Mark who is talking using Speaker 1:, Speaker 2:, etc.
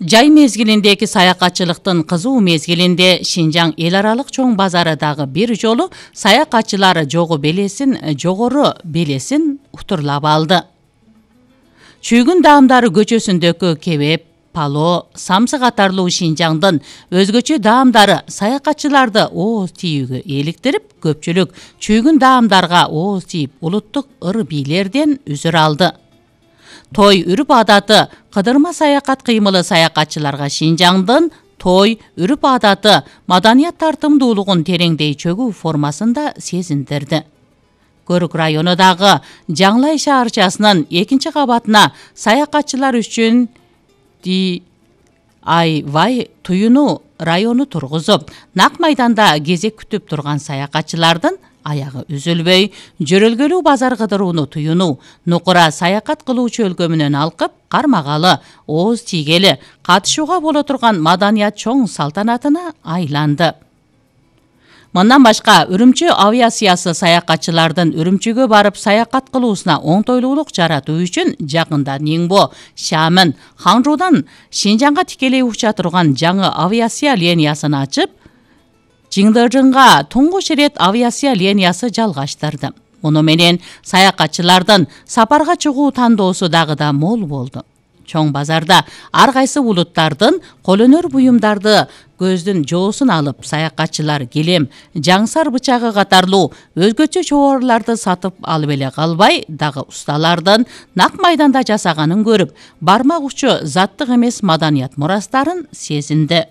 Speaker 1: Жай мезгилиндеги саякатчылыктын кызуу мезгилинде Шинжаң эл аралык чоң базары дагы бир жолу саякатчылар жогору белесин утурлап алды. Чүйгүн даамдары көчөсүндөгү кебеп, пало, самсы катарлуу Шинжаңдын өзгөчө даамдары саякатчыларды ооз тийүүгө eelиктирип, көпчүлүк чүйгүн даамдарга ооз тийип улуттук ыр-бийлерден үзүр алды. Той үрүп адаты кыдырма саякат кыймылы саякатчыларга Шинжаңдын той үрүп адаты маданият тартымдуулугун тереңдей чөгүү формасында сезиндирди. Көрүк районундагы Жаңлай шаарчасынын 2-кабатына саякатчылар үчүн DIY туюну району тургузуп, нак майданда кезек күтүп турган саякатчылардын аягы үзүлбөй, жөрөлгөлүү базар кыдырууну туюну, нукура саякат кылуучу өлкөмүнөн алкып, кармагалы, ооз тийгели, катышууга боло турган маданият чоң салтанатына айланды. Мындан башка Үрүмчү авиациясы саякатчылардын Үрүмчүгө барып саякат кылуусуна оңтойлуулук жаратуу үчүн жакында Ниңбо, Шамын, Ханжуудан Шинжаңга тикелей уча турган жаңы авиация линиясын ачып, Чыңдыжыңга туңгуч ирет авиация линиясы жалгаштырды. Муну менен саякатчылардын сапарга чыгуу тандоосу дагы да мол болду. Чоң базарда ар кайсы улуттардын колөнөр буюмдарды көздүн жоосун алып, саякатчылар килем, жаңсар бычагы катарлуу өзгөчө чоборлорду сатып алып эле калбай, дагы усталардын нак майданда жасаганын көрүп, бармак учу заттык эмес маданият мурастарын сезинди.